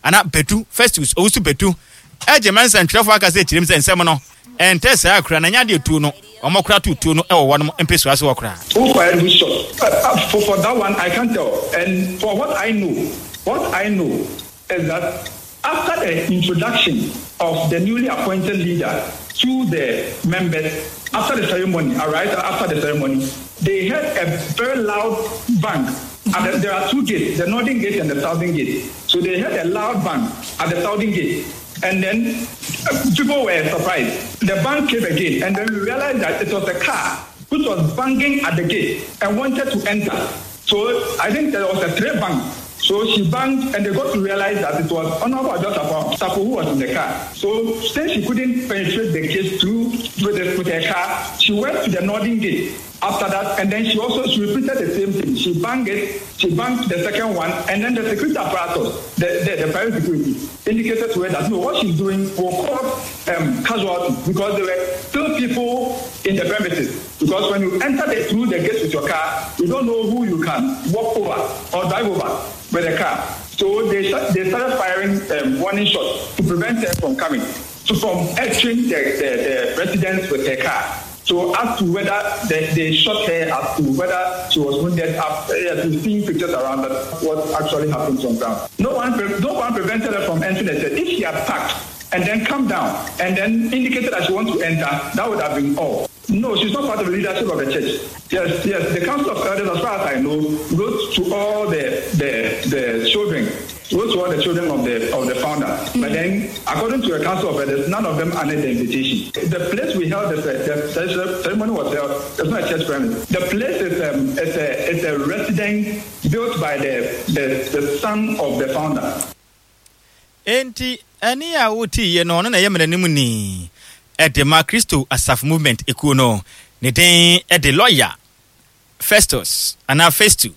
Anaa Badu, Festus Owusu Badu, agye ma nsɛntwerɛfoɔ aka sɛ kyerɛm sɛ nsɛm no ɛntɛ saa koraa na ɛnyɛ adeɛ tuo no wɔn kora to tuo no wɔ wɔnom mpesua so hɔ koraa. Who fired which shot? Uh, for, for that one, I can't tell. And for what I know, what I know is that after the introduction of the newly appointed leader to the members, after the ceremony, all right, after the ceremony, they heard a very loud bang. At the, there are two gates, the northern gate and the southern gate. So they heard a loud bang at the southern gate. And then uh, people were surprised. The bang came again, and then we realized that it was a car which was banging at the gate and wanted to enter. So I think there was a three bang. So she banged, and they got to realize that it was Honorable Adjo Safo who was in the car. So since she couldn't penetrate the gate through with, the, with her car, she went to the northern gate after that, and then she also she repeated the same thing. She banged it, she banged the second one, and then the security apparatus, the, the, the private security, indicated to her that no, what she's doing will cause um, casualties because there were still people in the premises. Because when you enter the, through the gate with your car, you don't know who you can walk over or drive over with the car. So they, they started firing um, warning shots to prevent her from coming, so from entering the, the, the residence with her car. So as to whether they, they shot her, as to whether she was wounded, uh, yes, we've seen pictures around that what actually happened on ground. No one, no one prevented her from entering the church. If she had parked and then come down and then indicated that she wants to enter, that would have been all. No, she's not part of the leadership of the church. Yes, yes. The Council of Elders, as far as I know, wrote to all the the, the children, wrote to all the children of the of the founder. Mm. But then, according to the Council of Elders, none of them honored the invitation. The place we held the, the, ceremony was held. It's not a church premise. The place is um, is a is a residence built by the the, the son of the founder. Enti ɛnne a wotiiɛ no, ɔno na ɛyɛ mmaranimni de ma Kristo Asafo Movement ekuo no. Ne din de Lɔya Festus anaa Festu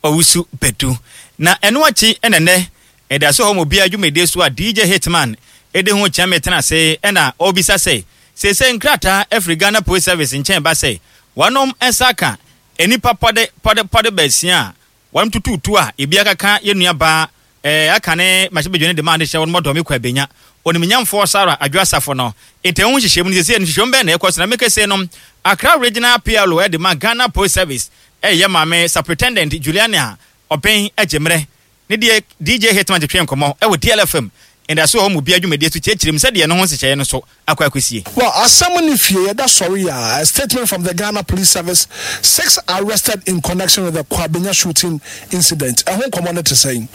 Owusu Badu. Na ɛno akyi na nnɛ ɛda so hɔ ma obiara dwumadie so a DJ Hitman de ho kyɛme tena ase na ɔrebisa sɛ seesei nkrataa afiri Ghana Police Service nkyɛn ba sɛ wɔnom nsa aka nnipa pɔde pɔde pɔde baasia a Wɔn tutuutu a ebi akaka yɛn nua baa eh, aka ne mmarahyɛbadwani de maa ne hyɛ wɔn mɔdɔ me kɔ abenya onimnyamfoɔ Sarah Adwo Asafo no nti ɛho nhyehyɛmu no seesei no nhyehyɛmu bɛn na ɛkɔ so na meka sei no Accra Regional PLO de ma Ghana Police Service ɛyɛ maame Superintendent Juliana Ɔben Agyemmerɛ ne deɛ DJ Hitman twetwee nkɔmmɔ wɔ DLFM Ndaso wɔ hɔ ma obiara dwumadie so kyerɛkyerɛ mu sɛdeɛ ɛno ho nhyehyɛeɛ no so akɔ akɔsie. Well, asɛm ne fie yɛda sɔre a, a statement from the Ghana Police Service, six arrested in connection with the Kwabenya shooting incident. Ɛho nkɔmmɔ no te sɛn?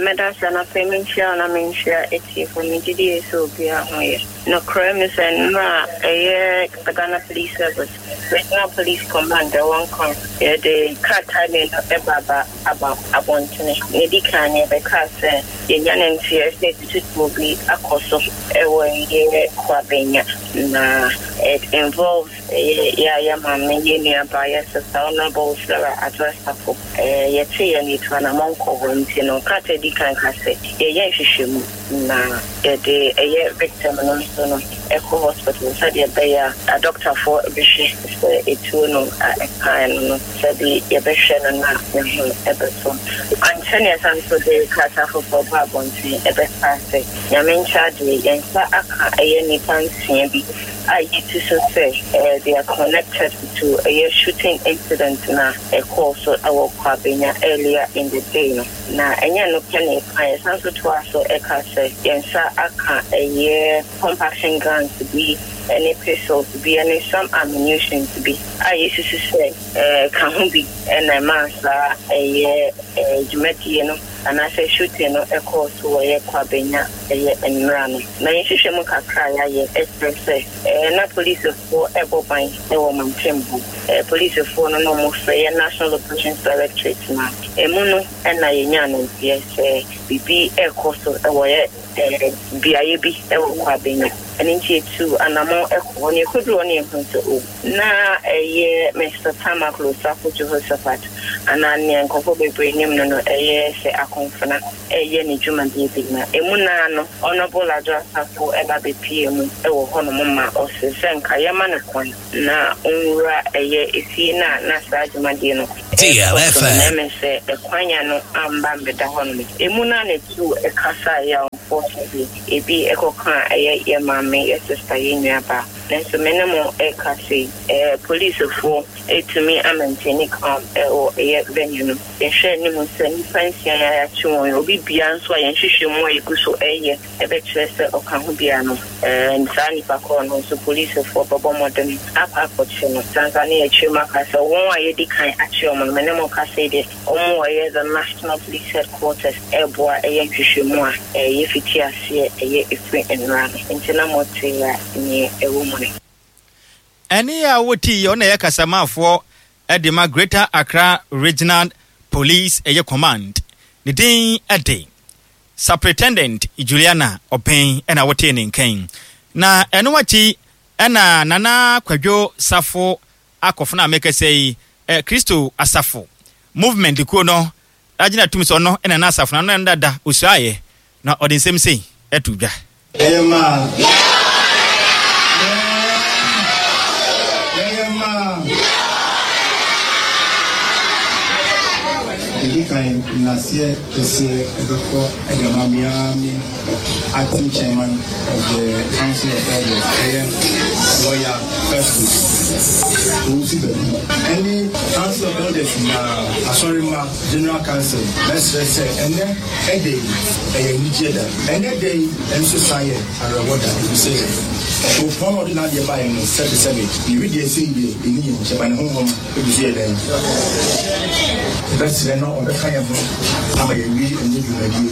Mɛda ase anɔpa yi menkyia wo na menkyia atiefo. Megye die sɛ obiara ho yɛ. Nokorɛ me sɛ nnora a ɛyɛ the Ghana Police Service, Regional Police Command ɛwɔ Nkran, yɛde krataa mmienu ba ba aba abɔntene. Nea ɛdi kan no yɛbɛkaa sɛ yɛanya no nteɛ sɛ tututuo bi akɔ so wɔ ɛyɛ Kwabenya na it involves ɛyɛ yɛ a yɛ maame, yɛ nuabaa, yɛ sista Honourable Sarah Adwoa Safo. Yɛteeɛ no yɛtuu anamɔn kɔɔ hɔ nti no krataa a ɛdi kan ka sɛ yɛyɛ nhwehwɛmu na yɛde ɛyɛ victim no nso no kɔ hospital sɛdeɛ ɛbɛyɛ a adɔktafoɔ bɛhwɛ sɛ etuo no a ɛkaeɛ no no sɛde yɛbɛhwɛ no na ne ho bɛtɔ. Ankyɛ na yɛsan nso de krataa foforɔ baa abɔnten bɛkaa sɛ Nyame nkyɛ adeɛ yɛn nsa aka ɛyɛ nnipa nsia bi a yɛtu so sɛ they are connected to ɛyɛ shooting incident no a ɛkɔɔ so wɔ Kwabenya earlier in the day no. Na ɛnyɛ ɛno pɛ na yɛkae, yɛsan nso toaa so kaa sɛ yɛn nsa aka ɛyɛ pump action guns bi ne pistols bi ne some ammunitions bi a yɛsusu sɛ ɛka ho bi na ɛmaa saa ɛyɛ dwumadie no anaasɛ shooting no kɔɔ so wɔ yɛ Kwabenya ɛyɛ nnora no. Na yɛn nhwehwɛmu kakra a yɛayɛ kyerɛ sɛ na polisifoɔ rebɔ ban wɔ mantam hɔ. Polisifoɔ no na wɔfrɛ yɛ National Operations Directorate no a ɛmu no na yɛnyaa no nteɛ sɛ biribi rekɔ so wɔ yɛ beaeɛ bi wɔ Kwabenya. Ɛno nti yɛtuu anammɔn kɔɔ hɔ na yɛkɔduruu hɔ no yɛhuu sɛ oh, na ɛyɛ Mister Tamaklo Osafo Jehoshaphat anaa nea nkurɔfoɔ bebree nim no no ɛyɛ sɛ akɔmfena reyɛ ne dwumadie bi na ɛmu no ara no Honourable Adwo Asafo ba bɛpuee mu wɔ hɔnom ma ɔse sɛ nka yɛma no kwan na ɔnwura ɛyɛ efie no a na saa dwumadie no. Ideal ɛrekɔ so no, na ɛmɛ sɛ ɛkwan ano amba ambɛda hɔnom. Emu no ara na etu kasaeɛ a unfortunately ebi kɔkaa ɛyɛ yɛ maame, yɛ sister, yɛ nuabaa. Nanso me ne mo rekasa yi, ɛɛ polisfoɔ atumi a maintain calm wɔ ɛyɛ venue no. Yɛhwɛ anim sɛ nnipa nsia yi a yɛakye wɔn yi, obi biara nso a yɛn nhwehwɛmu a yɛgu so reyɛ bɛkyerɛ sɛ ɔka ho biara no, ɛɛ saa nipa korɔ no nso polisfoɔ bɛbɔ mmɔden akɔ akɔkye no. Saa nso a na yɛakyerɛ mu aka sɛ wɔn a yɛadi kan akye wɔn no, me ne mo rekasa yi deɛ, Wɔn a ɛyɛ the National Police Headquarters reboa ɛyɛ nhwehwɛmu a yɛfiti aseɛ ɛyɛ ɛfiri nnora no nti na mote a neɛ ɛwɔ mu no. Ɛnne a wotii yi, ɔno na ɛyɛ kasamafoɔ de ma Greater Accra Regional Police ɛyɛ Command. Ne din de Superintendent Juliana Obeng na wotee ne nka yi. Na ɛno akyi na Nana Kwadwo Safo Akofena a mekasa yi, eh, Kristo Asafo Movement kuo no agyina atum sɛ ɔno na na asafo no ano na dada osuaeɛ, na ɔde nsɛm sei to dwa. Yɛyɛ mmaa. Yɛyɛ mmaa. Ɛdi kan, nnaseɛ kɛseɛ ɛbɛkɔ ɛde ama me ara me Acting Chairman of the Council of Elders, ɛyɛ Lawyer Festus Owusu Badu, ɛne Council of Elders nyinaa, Asɔremma, General Council, mɛsrɛ sɛ ɛnnɛ ɛda yi, ɛyɛ anigyeɛ da. Ɛnnɛ da yi nso san yɛ awerɛhoɔ da, ɛfiri sɛ ɔkuropɔn a ɔde n'adeɛ baeɛ no, sɛbesɛbe, ne wedeɛ sei deɛ, ɛnni yɛn nkyɛn, ba ne honhom gu so yɛ dɛn? Yɛbɛsrɛ na ɔbɛka yɛn ho ama yɛawie ɛnnɛ dwumadie yi.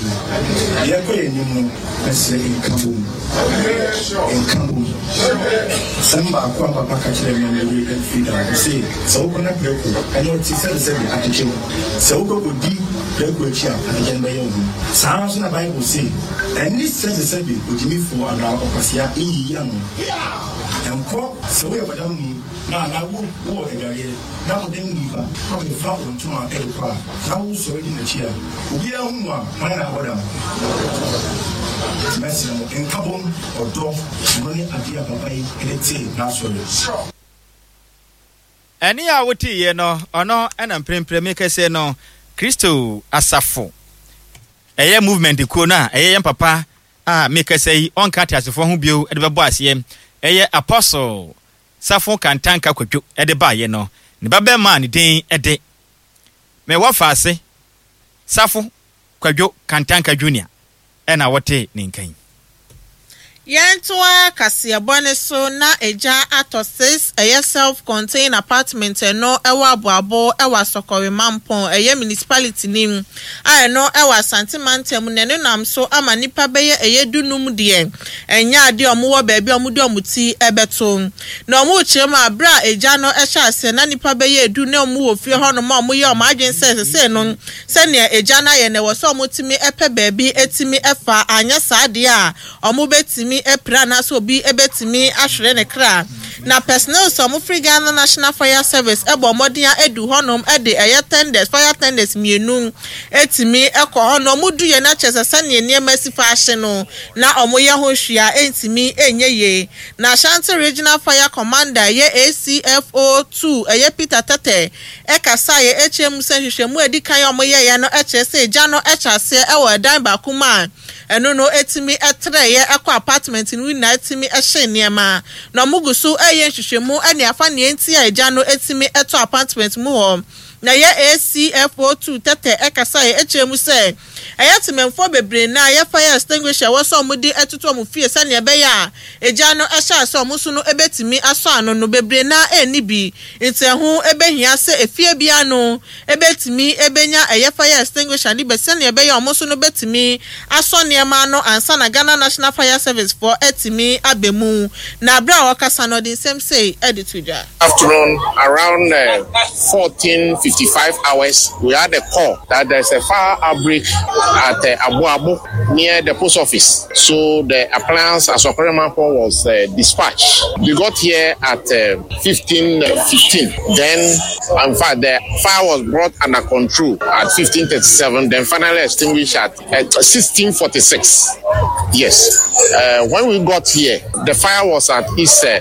Yɛrekɔ yɛn anim no, mɛsrɛ nkabom. Nkabom. Asɛm baako a papa ka kyerɛɛ me a me werɛ amfiri da, ɔse, sɛ wokɔ na prako ɛne ɔte sɛbesɛbe atwetwe wo. Sɛ wokɔ kɔdi prako akyi a, atwetwe no bɛyɛ wo ho. Saa ara nso na Bible se, ɛne sɛbesɛbe ogyimifoɔ anaa ɔkwasea nyiyi ano. Nkɔ sɛ woyɛ bɔdamni. Na na wo wɔ adwareɛ, na wo dan mu ba na ɔbɛfa wo ntoma de kɔ a, na wo sɔre di n'akyi a, obiara hu wo a, hwan na abɔ dam? Nti mɛsrɛ mo, nkabom, ɔdɔ, ɛno ne adeɛ a papa yi de tee n'asɔre. Ɛnne a woteeɛ no, ɔno na mprempren mekasa no, Kristo Asafo, ɛyɛ movement kuo no a ɛyɛ yɛn papa a mekasa yi, ɔnka ateasefoɔ ho bio de bɛbɔ aseɛ, ɛyɛ Apostle Safo Kantanka Kwadwo de baeɛ no, ne babarima a ne din de Me Wɔfaase Safo Kwadwo Kantanka Junior na wotee ne nka yi. Yɛntoa kaseɛbɔ no so na egya atɔ sis ɛyɛ self contained apartment ɛno ɛwɔ Aboabo ɛwɔ Asɔkɔre Mampong ɛyɛ municipality no mu a ɛno ɛwɔ Asante mantam na ɛno nam so ama nnipa bɛyɛ ɛyɛ du num deɛ ɛnyɛ adeɛ a wɔwɔ baabi a wɔde wɔn ti bɛto. Na wɔrekyerɛ mu a, berɛ a egya no hyɛɛ aseɛ na nnipa bɛyɛ du na wɔwɔ fie hɔnom a wɔyɛ wɔn adwene sɛ sesei no sɛdeɛ egya no ayɛ no ɛwɔ sɛ wɔtumi pɛ baabi tumi fa, anyɛ saa deɛ a wɔbɛtumi apira anaasɛ obi bɛtumi ahwere ne kra. Na personnels a wɔfiri Ghana National Fire Service bɔɔ mmɔden ara duu hɔnom de ɛyɛ tenders, fire tenders mmienu tumi kɔ hɔ na wɔduiɛ no kyerɛ sɛ sɛdeɛ nneɛma si fa ahye no na wɔyɛ ho hwee a ɛntumi nyɛ yie. Na Ashanti Regional Fire Commander ɛyɛ ACFO 2 ɛyɛ Peter Tetteh kasaeɛ kyerɛ mu sɛ nhwehwɛmu a ɛdi kan a wɔyɛeɛ no kyerɛ sɛ egya no hyɛ aseɛ wɔ ɛdan baako mu a ɛno no tumi trɛeɛ kɔ apartment no nyinaa tumi hyee nneɛma. Na wɔgu so reyɛ nhwehwɛmu ne afa nea enti a egya no tumi tɔ apartment mu hɔ. Na ɛyɛ ACFO 2 Tetteh kasaeɛ kyerɛ mu sɛ Ɛyɛ temanfoɔ bebree nnɛ a yɛ fire extinguisher a ɛwɔ sɛ wɔn de toto wɔn fie sɛdeɛ ɛbɛyɛ a egya no hyɛ ase a wɔn nso no bɛtumi asɔ ano no bebree no ara nni bi nti ɛho bɛhia sɛ efie biara no bɛtumi bɛnya ɛyɛ fire extinguisher no bi sɛdeɛ ɛbɛyɛ a wɔn nso no bɛtumi asɔ nneɛma ano ansa na Ghana National Fire Service foɔ atumi aba mu. Na berɛ a ɔrekasa no ɔde nsɛm sei de to dwa. Afternoon around 14:55 hours we had a call that there's a fire outbreak at uh, Abu near the post office. So the appliance Asokore Mampong was uh, dispatched. We got here at uh, 15:15. Then, in fact, the fire was brought under control at 15:37. Then finally extinguished at, at 16:46. Yes. Uh, when we got here, the fire was at its uh,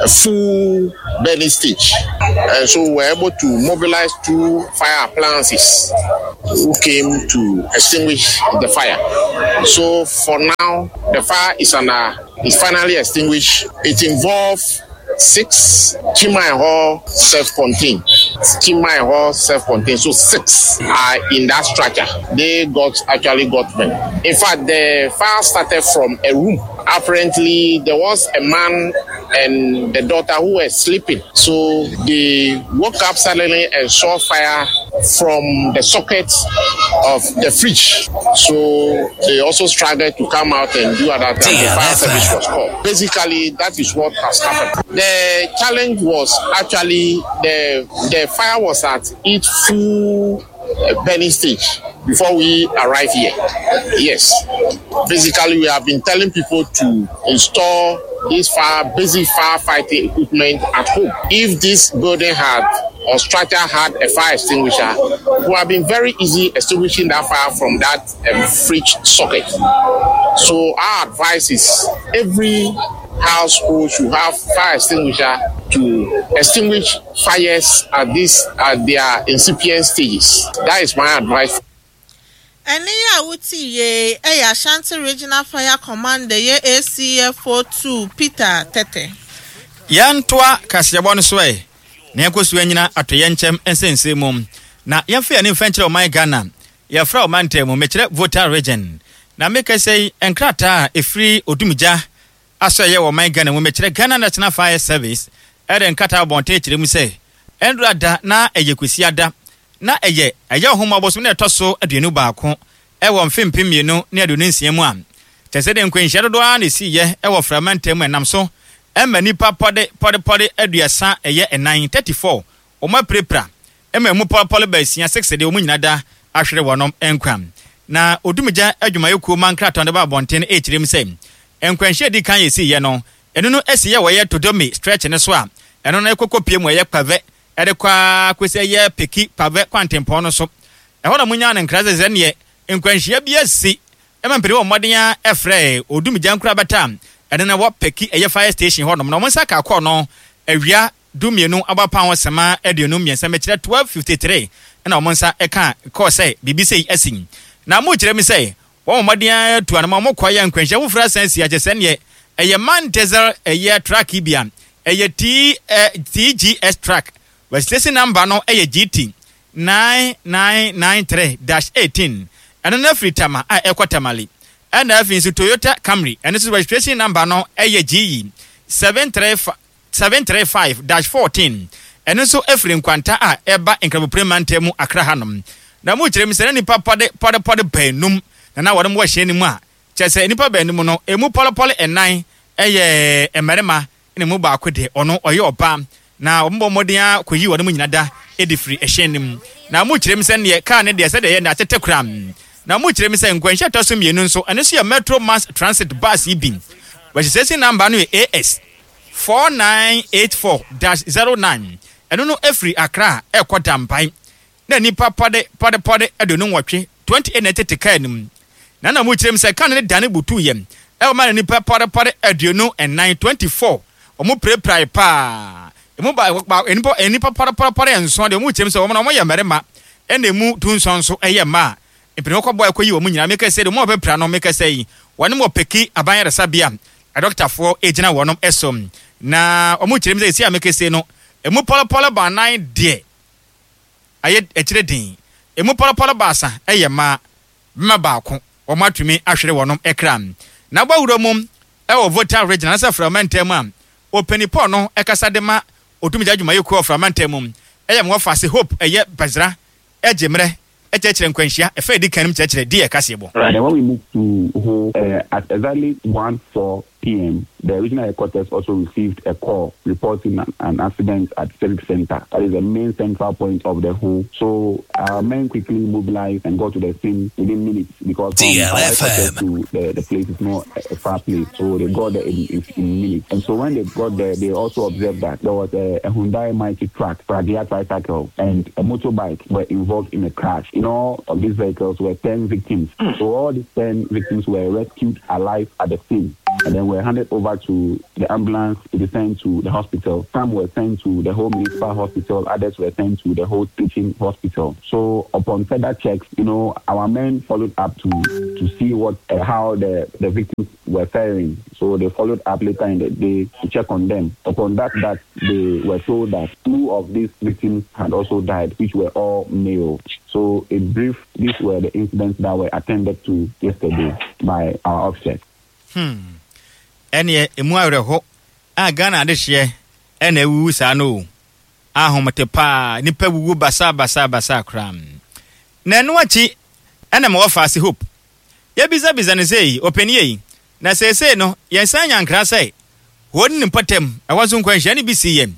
full burning stage. And so we were able to mobilize two fire appliances who came to extinguish the fire. So for now, the fire is under is finally extinguished. It involved six Chimai Hall self-contained. Chimai Hall self-contained. So six are in that structure. They got actually got them. In fact, the fire started from a room. Apparently, there was a man and the daughter who were sleeping. So they woke up suddenly and saw fire from the socket of the fridge. So they also struggled to come out and do other things. The fire service was called. Basically, that is what has happened. The challenge was actually the the fire was at its full eh, burning stage before we arrive here. Yes. Basically, we have been telling people to install this fire basic firefighting equipment at home. If this building had or structure had a fire extinguisher, would have been very easy extinguishing that fire from that um, fridge socket. So our advice is every household should have fire extinguisher to extinguish fires at this at their incipient stages. That is my advice. Ɛnne yi a wote yie yɛ Ashanti Regional Fire Commander yɛ ACFO 2 Peter Tetteh. Yɛntoa kaseɛbɔ no so ɛ, na yɛnkɔ so nnyina atoyɛnkyɛm nsɛnsɛm mu, na yɛmfa yɛn ani mfa nkyerɛ ɔman Ghana. Yɛfrɛ ɔmantam mu, mekyerɛ Volta Region. Na mekasa yi, nkrataa a ɛfiri Odumgya Asɔeɛ wɔ ɔman Ghana mu, mekyerɛ Ghana National Fire Service, de nkrataa abɔnten kyerɛ mu sɛ, ɛndora da na ɛyɛ Kwasiada, na ɛyɛ ɛyɛ Ɔhomɔ bosome no a ɛtɔ so 21 wɔ mfe 2026 mu a, kyerɛ sɛ de nkwanhyia dodoɔ ara na ɛsiiɛ wɔ Frɛ mantam mu ɛnam so ma nnipa pɔde pɔde pɔde aduasa ɛyɛ nnan, 34, wɔn apirapira ma ɛmu pɔlepɔle baasia, 6, deɛ wɔn nyina da ahwere wɔn nkwa. Na Odumgya adwumayɛkuo ma nkrataa no de ba abɔnten no ɛrekyerɛ mu sɛ nkwanhyia a ɛdi kan a ɛsiiɛ no, ɛno no ɛsiiɛ wɔ ɛyɛ Todome stretch no so a ɛno no ɛkɔkɔ pie mu ɛyɛ Kpavɛ de kɔ ara kɔsi ɛyɛ Peki Pave kwantempɔn no so. Ɛhɔ na wɔnyaa no nkra sɛ sɛdeɛ nkwanhyia bi asi ma mpanin wɔ mmɔden ara frɛɛ Odumgya nkorabata a ɛno na ɛwɔ Peki ɛyɛ fire station hɔnom na wɔn nsa kaa kɔɔ no awia dumienu abɔ ho sema 53 mekyerɛ 12:53 na wɔn nsa kaa kɔɔ sɛ biribi sei asi. Na mokyerɛ mi sɛ wɔn mmɔden ara tu anamɔ wɔn kɔ yɛ nkwanhyia foforɔ asan asi akyɛ sɛ neɛ ɛyɛ man diesel ɛyɛ truck bi a ɛyɛ T TGS truck registration number no ɛyɛ GT 9993 dash 18 ɛno no afiri Tama a ɛkɔ Tamale ɛna afei nso Toyota Camry ɛno nso registration number no ɛyɛ GE 735 735-14, ɛno nso firi nkwanta a ɛba Nkramoprem mantam mu Accra hanom. Na mu kyerɛ mu sɛ na nnipa pɔde pɔde pɔde baanum na na wɔnom wɔ hyɛn no mu a kyerɛ sɛ nnipa baanum no emu pɔlepɔle nnan yɛ mmarima na emu baako deɛ ɔno ɔyɛ ɔbaa na wɔn bɔ mmɔden ara kɔyii wɔnom nyina da de firi hyɛn no mu. Na mu kyerɛ mu sɛ neɛ kaa no deɛ sɛdeɛ ɛyɛ no atete koraa. Na mu kyerɛ mu sɛ nkwanhyia ɛtɔ so mmienu nso ɛno nso yɛ Metro Mass Transit bus yi bi. Registration number no yɛ AS 4984-09, ɛno no firi Accra rekɔ Dambai, na nnipa pɔde pɔde pɔde 28, 28 na ɛtete kaa no mu. Na na wɔkyerɛ mu sɛ kaa no dane butuiɛ ma na nnipa pɔde pɔde 24, 24, wɔpirapirae paa. Emu ba, ba, nnipa, nnipa pɔde pɔde pɔde nson deɛ wɔkyerɛ mu sɛ wɔn na wɔyɛ mmarima, ɛna emu dunson nso yɛ mmaa. Mpanyinfoɔ kɔbɔɔ ɛkɔyi wɔn nyinaa. Meka sɛ deɛ wɔn a wɔbɛpira no, meka sɛ yi, wɔn wɔ Peki aban ayaresabea Adɔkotafoɔ gyina wɔnom so na wɔn kyerɛ mu sɛ seesei a mekese no emu pɔlɔpɔlɔ baanan deɛ ayɛ akyire den, emu pɔlɔpɔlɔ baasa yɛ mmaa, bɛma baako wɔn atumi ahwere wɔnom kra. Na bɔ wura mu wɔ Volta Region anaasɛ Frao mantam mu a ɔpanin Paul no kasa de ma Odumgya adwumayɛkuo wɔ Frao mantam mu yɛ Mwɔfase Hope ɛyɛ Bazira gye mmerɛ kyerɛkyerɛ nkwanhyia ɛfa a ɛdi kan no mu kyerɛkyerɛ di yɛ kaseɛbɔ. Then when we moved to Ho uh, at exactly 1 4 p.m., the regional headquarters also received a call reporting an, an accident at Civic Center. That is the main central point of the Ho. So our men quickly mobilized and got to the scene within minutes because from our headquarters to the, the place is not a far place. So they got there in, in, in minutes. And so when they got there, they also observed that there was a, a Hyundai Mighty truck, Pragya tricycle, and a motorbike were involved in a crash. In all of these vehicles were 10 victims. So all these 10 victims were rescued alive at the scene. and then were handed over to the ambulance to be sent to the hospital. Some were sent to the Ho Municipal Hospital, others were sent to the Ho Teaching Hospital. So upon further checks, you know, our men followed up to to see what uh, how the, the victims were faring. So they followed up later in the day to check on them. Upon that, that they were told that two of these victims had also died, which were all male. So in brief, these were the incidents that were attended to yesterday by our officers. Hmm. Ɛneɛ emu awerɛho a Ghana adehyeɛ ɛna awuwu saa no o. Ahomete paa, nipa wuwu basaa basaa basaa koraa. Na ɛno akyi ɛna mewɔ faase Hope. Yɛbisabisa no sei, ɔpanin ei, na seesei no yɛnsan nya nkra sɛ Ho ne ne mpɔtam ɛhɔ nso nkwanhyia no bi sii yɛn.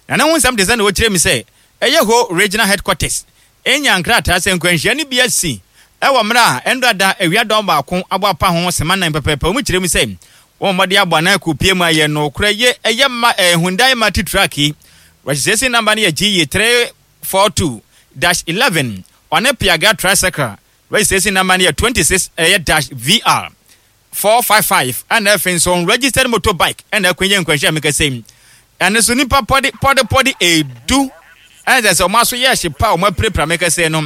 Na ne ho nsɛm te sɛ nea ɔkyerɛ mu sɛ ɛyɛ Ho Regional Headquarters nyaa nkrataa sɛ nkwanhyia no bi asi wɔ mmerɛ a ɛnnora da awia dɔn baako abɔ apa ho sema nan pɛpɛɛpɛ. Wɔn kyerɛ mu sɛ wɔn mmɔden abɔ anan akɔpie mu ayɛ nokorɛ ye ɛyɛ ma eh, Hyundai Multi Truck yi registration number no yɛ GE 342-11 ɔne Piaga Tricycle registration number no yɛ 26 ɛyɛ dash VR 455 ɛna afei nso unregistered motorbike ɛna akɔnya nkwanhyia a mekasa yi ɛno nso nipa pɔde pɔde pɔde edu ɛna sɛ sɛ wɔn aso yɛ hye pa a wɔn apirapira mekasa yi no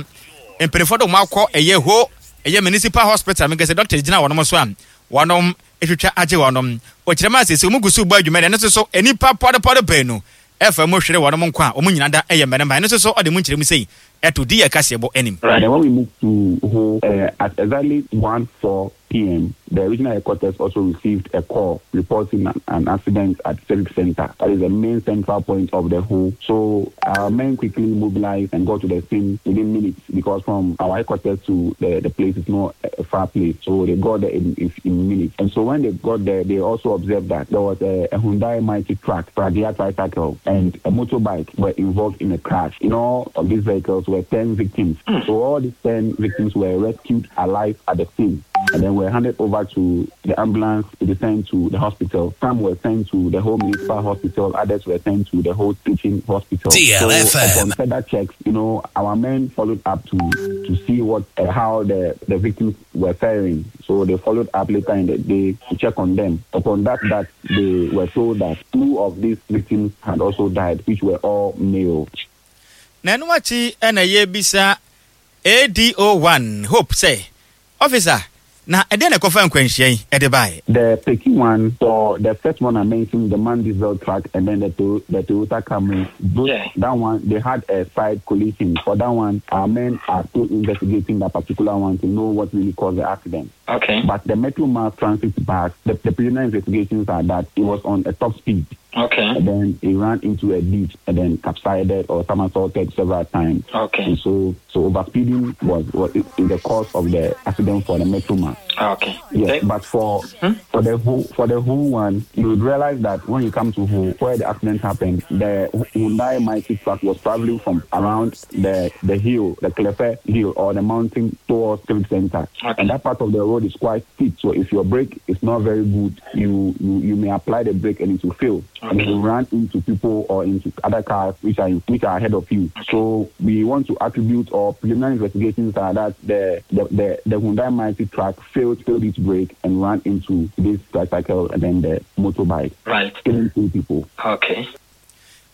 mpanimfoɔ de wɔn akɔ ɛyɛ ho ɛyɛ municipal hospital mekasa doctors gyina wɔn so a wɔn atwitwa agye wɔn ɔkyerɛ mu asese wɔn gu so bɔ adwuma ɛno nso so nipa pɔde pɔde baanu ɛfa mu hwere wɔn nkwa a wɔn nyinaa da ɛyɛ mmarima ɛno nso so ɔde mu nkyerɛ mu sei ɛto di yɛ kaseɛbɔ anim. Right. Then when we moved to Ho, uh, at exactly 1 4 p.m., the regional headquarters also received a call reporting an, an accident at Civic Center. That is the main central point of the Ho. So our men quickly mobilized and got to the scene within minutes because from our headquarters to the, the place is not a far place. So they got there in, in, in minutes. And so when they got there, they also observed that there was a, a Hyundai Mighty truck, Pragya tricycle, and a motorbike were involved in a crash. In all of these vehicles were 10 victims. So all these 10 victims were rescued alive at the scene and then were handed over to the ambulance to be sent to the hospital. Some were sent to the Ho Municipal Hospital, others were sent to the Ho Teaching Hospital. DLFM. So upon further checks, you know, our men followed up to to see what uh, how the, the victims were faring. So they followed up later in the day to check on them. Upon that, that they were told that two of these victims had also died, which were all male. Na ɛno akyi na yɛrebisa ADO1 Hope sɛ, Officer, na ɛdeɛn na ɛkɔfaa nkwanhyia yi de baeɛ? The Peki one, for the first one I mentioned, the man diesel truck and then the the Toyota Camry, both that one they had a side collision. For that one, our men are still investigating that particular one to know what really caused the accident. Okay. But the Metro Mass Transit bus, the, the preliminary investigations are that it was on a top speed. Okay. And then it ran into a ditch and then capsized or somersaulted several times. Okay. And so, so overspeeding was, was is the cause of the accident for the Metro Mass. Okay. Yes, but for hmm? for the Ho for the Ho one, you would realize that when you come to Ho, where the accident happened, the Hyundai Mighty truck was traveling from around the the hill, the Clefe hill or the mountain towards Civic Center. Okay. And that part of the road is quite steep. So if your brake is not very good, you you, you may apply the brake and it will fail. Okay. And you run into people or into other cars which are which are ahead of you. Okay. So we want to attribute or preliminary investigations are that the the, the, the Hyundai Mighty truck failed failed its brake and ran into this tricycle and then the motorbike. Right. Killing two people. Okay.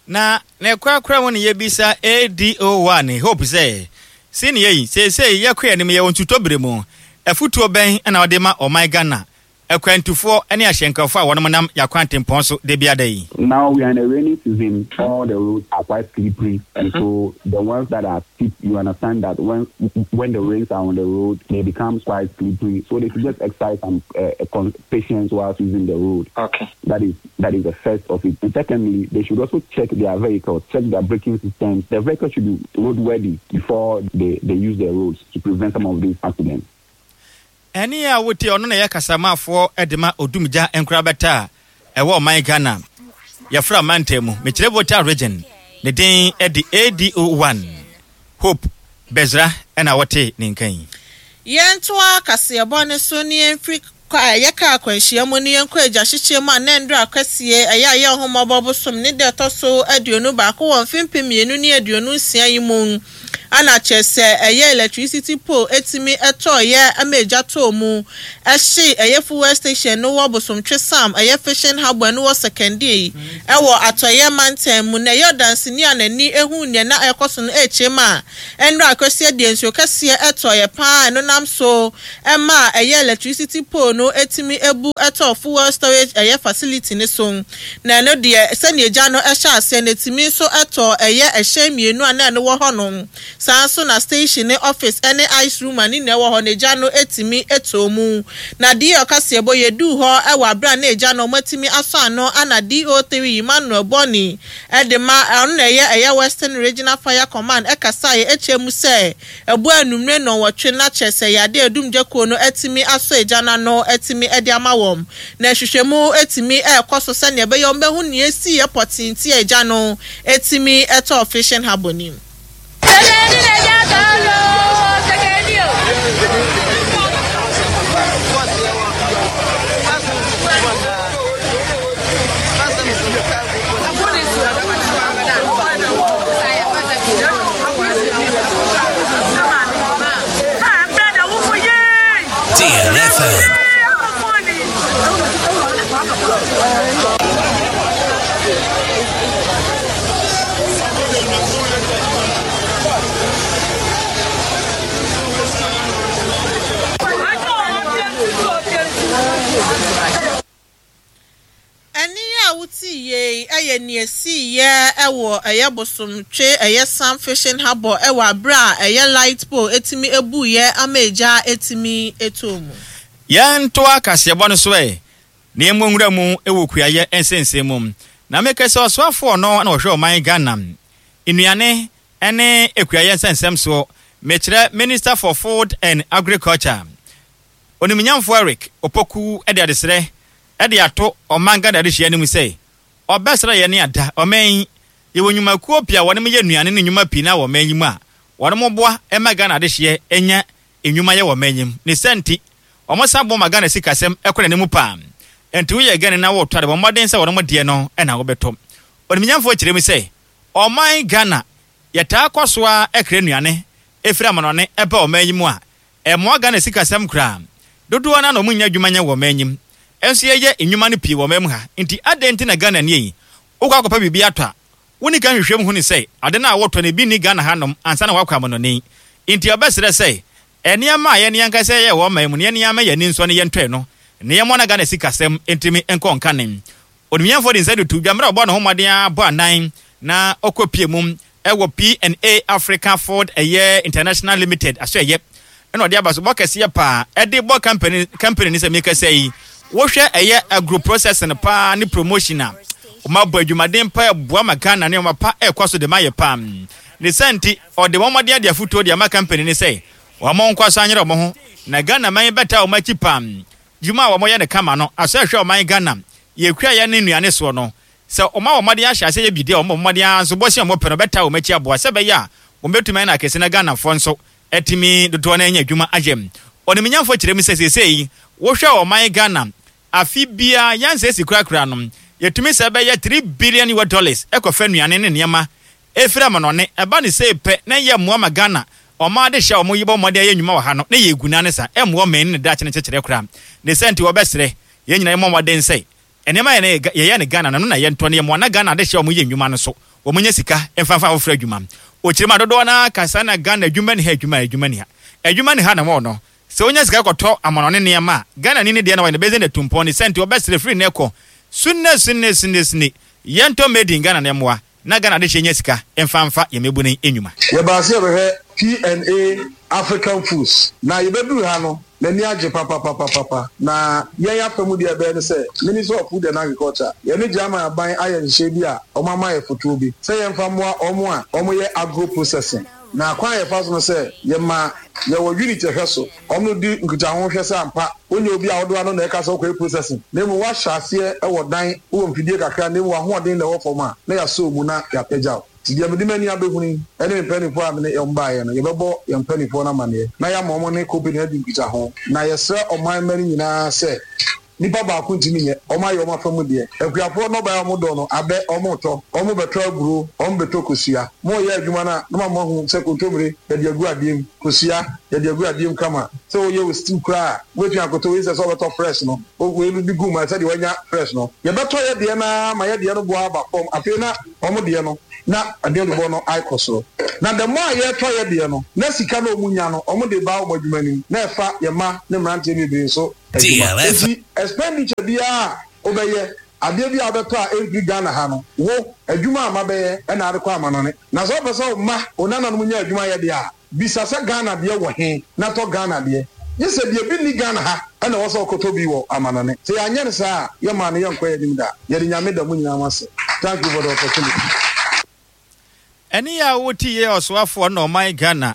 Na ne korakora mu ne yɛbisa ADO1 Hope sɛ, Senior yi, seesei yɛkɔ yɛn anim, yɛwɔ nsutɔ bere mu. Afutuo bɛn na wode ma ɔman Ghana akwantufoɔ ne ahyɛnkafoɔ a wɔnom nam yɛn akwantempɔn so da biara da yi? Now we are in a rainy season, all the roads are quite slippery, and so the ones that are steep, you understand that when when the rains are on the road, they become quite slippery. So they should just exercise some uh, patience whilst using the road. Okay. That is that is the first of it. And secondly, they should also check their vehicles, check their braking systems. The vehicle should be roadworthy before they, they use the roads to prevent some of these accidents. Ɛnne a wotie ɔno na ɛyɛ kasamafoɔ de ma Odumgya nkorabata a ɛwɔ ɔman Ghana yɛfrɛ mantam mu, mekyerɛ Volta Region, ne din de ADO1 Hope Bezra na wote ne nka yi. Yɛntoa kaseɛbɔ no so na yɛmfiri kɔ a ɛyɛ kaa akwanhyia mu no yɛnkɔ agyahyekyɛ mu a na Ndura Kwasie ɛyɛ a ɛyɛ Ɔhommɔbɔ bosom ne da ɛtɔ so aduonu baako wɔ mfe mpem mmienu ne aduonu nsia yi mu. Ana kyerɛ sɛ ɛyɛ electricity pole tumi tɔeɛ ma egya tɔɔ mu hyee ɛyɛ fuel station no wɔ Bosomtwe Sam ɛyɛ fishing harbour no wɔ Sekendie wɔ Atɔeɛ mantam mu. Na ɛyɛ ɔdanseni a n'ani huu nea na ɛrekɔ so no rekyerɛ mu a nnora akwasia deɛ nsuo kɛseɛ tɔeɛ pa ara a ɛno nam so maa ɛyɛ electricity pole no tumi bu tɔɔ fuel storage ɛyɛ facility no so. Na ɛno deɛ, sɛdeɛ egya no hyɛ aseɛ no, ɛtumi nso tɔ ɛyɛ ɛhyɛn mmienu a na ɛno wɔ hɔ nom. Saa ara nso na station ne office ne ice room a ne nyinaa wɔ hɔ no, egya no tumi tɔɔ mu. Na DO kaseɛbɔ, yɛduu hɔ wɔ aberɛ a na egya no wɔatumi asɔ ano ana DO3 Emmanuel Bonney de ma, ɔno na ɛyɛ ɛyɛ Western Regional Fire Command kasaeɛ kyerɛ mu sɛ, Ɛbɔɔ anwummere nnɔnwɔtwe na kyerɛ sɛ yade a Dumgya kuo no atumi asɔ egya no ano atumi de ama wɔn. Na nhwehwɛmu atumi rekɔ so sɛnea ɛbɛyɛ wɔbɛhu nea esiiɛ pɔtee nti a egya no atumi tɔɔ Fishing Harbour no mu. Ɛnne a wotii yei yɛ nea ɛsiiɛ wɔ ɛyɛ Bosomtwe ɛyɛ Sam Fishing Harbour wɔ aberɛ a ɛyɛ light pole tumi buiɛ ama egya tumi tɔɔ mu. Yɛntoa kaseɛbɔ no so ɛ, na yɛmmɔ nwura mu wɔ kuayɛ nsɛnsɛm mu. Na mekɛ sɛ ɔsoafoɔ no na ɔhwɛ ɔman Ghana nnuane ne akuayɛ nsɛnsɛm soɔ, mekyerɛ Minister for Food and Agriculture, Onimunyamfo Eric Opoku de adesrɛ de ato ɔman Ghana adehyeɛ anim sɛ ɔbɛsra yɛn ne ada ɔman yi. Yɛwɔ nnwumakuo pii a wɔnom yɛ nnuane ne nnwuma pii no ara wɔ ɔman yi mu a wɔnom boa ma Ghana adehyeɛ nya nnwuma yɛ wɔ ɔman yi mu. Ne saa nti, wɔn san boa ma Ghana sikasɛm kɔ n'anim paa. Enti woyɛ Ghanani na woretɔ ade, bɔ mmɔden sɛ wɔnom deɛ no na wobɛtɔ. Onimunyamfoɔ kyerɛ mu sɛ, ɔman Ghana, yɛtaa kɔ so ara kra nnuane firi amanɔne ba ɔman yi mu a Ɛmmoa Ghana sikasɛm koraa. Dodoɔ no ara na wɔn nnya adwuma nyɛ wɔ ɔman yi mu. Nso yɛyɛ nnwuma no pii wɔ ɔman mu ha. Nti adɛn nti na Ghanani yi, wokɔ akɔpɛ biribi atɔ a, wonni kan hwehwɛ mu hunu sɛ ade no a wotɔ no ebi nni Ghana hanom ansa na woakɔ amanɔne yi. Nti yɛbɛsrɛ sɛ nneɛma a yɛn ankasa yɛyɛ wɔ ɔman mu no yɛn ara mma yɛn ani nsɔ na yɛntɔ ɛno na yɛmmoa na Ghana sikasɛm ntumi nkɔ nkane. Onimnyamfoɔ de nsa de to dwa mmerɛ a ɔbɔɔ ne ho mmɔden ara bɔ anan na ɔkɔpie mu wɔ P&A Africa Ford ɛyɛ International Limited asoɛyɛ ɛna ɔde abasobɔ kɛseɛ paa ɛde bɔ company company ne sɛ mekasa yi wohwɛ ɛyɛ agro processing paa ne promotion a wɔn abɔ adwumaden paa ɛboa ma Ghana nneɛma pa ɛkɔ so de ma yɛ paa ne sɛ nti ɔde wɔn mmɔden ade afutuo de ama company ne sɛ wɔn nkɔ so anyere wɔn ho na Ghana man bɛtaa wɔn akyi paa Dwuma a wɔyɛ no kama no asɔ ɛhwɛ ɔman Ghana yɛ kuayɛ ne nnuane soɔ no. Sɛ wɔma wɔn mmɔden ahyɛ aseɛ yɛ biribi a wɔbɔ mmɔden ara nso bɔhyɛ a wɔpɛ no bɛtaa wɔn akyi aboa sɛ ɛbɛyɛ a wɔbɛtumi ayɛ no akɛse na Ghanafoɔ nso atumi dodoɔ no anya adwuma ayɛ. Ɔnimnyamfoɔ kyerɛ mu sɛ seesei wohwɛ ɔman Ghana afe biara yɛn si korakora no yɛtumi sɛ bɛyɛ 3 billion US dollars kɔfa nnuane ne nneɛma Ɛfiri amanɔne, ɛba no sei pɛ na ɛyɛ mmoa ma Ghana ɔman adehyɛ a wɔn yi bɔ mmɔden ayɛ nnwuma wɔ ha no na ɛyɛ agunaa ne saa, ɛmmoa ɔman yi ne ne daakye no nkyekyerɛ koraa. Ne saa nti wɔbɛsrɛ yɛn nyinaa yɛmmɔ mmɔden sɛ nneɛma a yɛn yɛyɛ no Ghana no ɛno na yɛntɔ na yɛmmoa na Ghana adehyɛ a wɔn yɛ nnwuma no so wɔn nya sika mfa mfa afoforɔ adwuma. Ɔkyerɛ mu a dodoɔ no ara ka saa na Ghana adwuma nni ha adwuma adwuma nni ha adwuma nni ha na wɔn no sɛ wonya sika kɔtɔ amanɔne nneɛma a Ghanani no deɛ na wɔyɛ no bɛyɛ sɛ natumpɔn ne saa nti wɔbɛsrɛ firi nnɛ kɔ sunne sunne sunne sunne yɛntɔ made in Ghana na ɛmmoa Na Ghana adehyeɛ nya sika mfa mfa yɛn mmabunu nnwuma. Yɛbaa sɛ yɛbɛhwɛ PNA African Foods na yɛbɛduru ha no m'ani agye papapapapa na yɛn afa mu deɛ ɛbɛyɛ ne sɛ Ministry of Food and Agriculture yɛne German aban ayɛ nhyehyɛe bi a wɔn ama yɛ fotoɔ bi sɛ yɛmfa mmoa wɔn a wɔyɛ agro processing na kwan a yɛfa so no sɛ yɛma yɛwɔ unit ɛhwɛ so Wɔn di nkitaho hwɛ sɛ ampa wonyɛ obi a wode w'ano na ɛka sɛ wokɔyɛ processing na mmom woahyɛ aseɛ wɔ dan, wowɔ mfidie kakra na mmom w'ahoɔden na ɛwɔ fam a, na yɛasɔ wo mu na yɛapagya wo. Nti deɛ mede m'ani abɛhunu yi ne me mpaninfoɔ a mene wɔn baeɛ no, yɛbɛbɔ yɛn mpaninfoɔ no amaneɛ na yɛama wɔn ne company no adi nkitaho. Na yɛsrɛ ɔman mma no nyinaa sɛ. Nipa baako ntumi nyɛ. Wɔn ayɛ wɔn afa mu deɛ. Akuafoɔ nnɔbaeɛ a wɔdɔ no, abɛ, wɔretɔ. Wɔrebɛtɔ aburo, wɔrebɛtɔ kosua. Moreyɛ adwuma no a, na moama moahu sɛ kontommire, yɛde agu adeɛ mu. Kosua, yɛde agu adeɛ mu kama. Sɛ woyɛ wo stew koraa a, wobɛtumi akɔtɔ wei sɛ sɛ wobɛtɔ fresh no. Wei no bi gu mu a, sɛdeɛ woanya fresh no. Yɛbɛtɔ yɛ deɛ no ara ma yɛ deɛ no boɔ aba fam. Afei na wɔn deɛ no, na aduanebɔ no akɔ soro. Na the more a yɛretɔ yɛ deɛ no, na sika no a wɔnya no, wɔde ba wɔn adwuma no mu, na ɛfa yɛn mma ne mmeranteɛ bebree nso adwuma. Enti expenditure biara a wobɛyɛ, adeɛ biara a wobɛtɔ a ɛmfiri Ghana ha no, wo, adwuma a mabɛyɛ na ade kɔ amanɔne. Na sɛ wopɛ sɛ wo mma, wo nananom nya adwuma yɛ deɛ a, bisa sɛ Ghana deɛ wɔ he na tɔ Ghana deɛ. Gye sɛ deɛ bi nni Ghana ha na ɛwɔ sɛ wokɔtɔ bi wɔ amanɔne. Sɛ yɛanyɛ no saa a, yɛmmaa no yɛnkɔ yɛn anim da. Yɛde Nyame da mo nyinaa mo ase. Thank you for the opportunity. Ɛne a wote yɛ ɔsoafoɔ na ɔman Ghana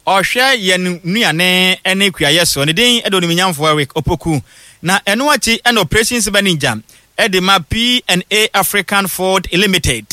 ɔhwɛ yɛn nnuane ne kuayɛ soɔ. Ne din de Onimnyamfoɔ Eric Opoku. Na ɛno akyi na Operations Manager de ma P&A African Food Limited.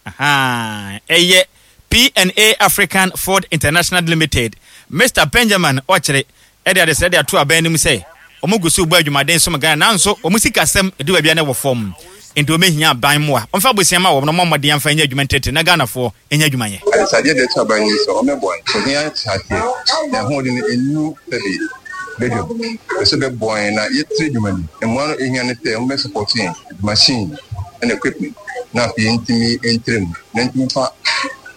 Ahaa, ɛyɛ P&A African Food International Limited. Mister Benjamin Ɔkyere de adesrɛ de ato aban no mu sɛ wɔn gu so rebɔ adwumaden som Ghana nanso wɔn sikasɛm edu baabi a na ɛwɔ fam nti wɔbɛhia aban mmoa. Wɔmfa abusua ma wɔn na wɔmmɔ mmɔden amfa nyɛ adwuma ntiatira na Ghanafoɔ nyɛ adwuma nyɛ. Adesadeɛ deɛ ɛto aban yi sɛ ɔmɛboa yɛn. Ohia kyɛ aseɛ na ɛhoɔden no ɛnnu sɛbe badwam. Pɛ sɛ ɔbɛboa yɛn na yɛtiri adwuma no mu. Mmoa no ɛhia ne sɛ wɔbɛ support yɛn with machine ɛna equipment na afei yɛntumi ntrɛ mu na ntumi fa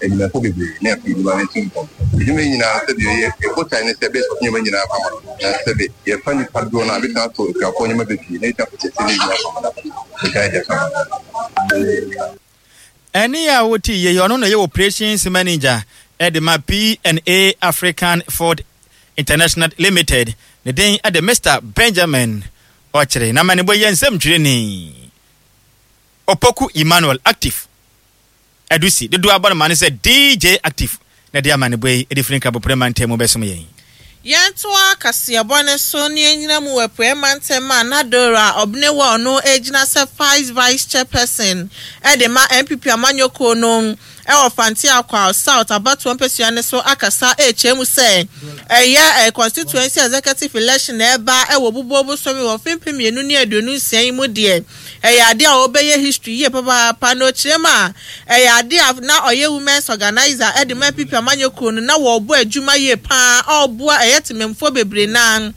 adwumayɛfoɔ bebree na afei adwuma no ntu mpɔn. Adwuma yi nyinaa sɛbe yɛ yɛ botae ne sɛ ɛbɛyɛ support nneɛma nyinaa ama no na sɛbe yɛfa nnipa dodoɔ no a ɛbɛtumi atɔ akuafoɔ nneɛma bebree na yɛtumi akɔkyɛkyɛ ne adwuma ama no botae deɛ ɛso ama no. Ɛnne a wote yei, ɔno na ɔyɛ Operations Manager de ma P&A African Food International Limited. Ne din de Mister Benjamin Ɔkyere. N'amanebɔ yi yɛ nsɛmtwerɛni Opoku Emmanuel Active. Adusi, dodoɔ abɔ no ma ne sɛ DJ Active na ɛde amanebɔ yi de firi Nkraboprɛ mantam mu bɛsom yɛn. Yɛntoa kaseɛbɔ no so na yɛnnyina mu wɔ Apueɛ Mantam a na Dora Obnewa ɔno gyina sɛ Vice Vice Chairperson de ma NPP amanyɔkuo no wɔ Fante Akwao South abatoɔ mpasua no so akasa rekyerɛ mu sɛ ɛyɛ Constituency Executive Election a ɛreba wɔ Obubuo bosome wɔ mfe 2026 yi mu deɛ Ɛyɛ ade a ɔbɛyɛ history yie papaapa na ɔkyerɛ mu a, ɛyɛ ade a na ɔyɛ women's organiser de ma NPP amanyɔ kuo no na wɔbɔ adwuma yie pa ara a ɔboa ɛyɛ temamfoɔ bebree no ara.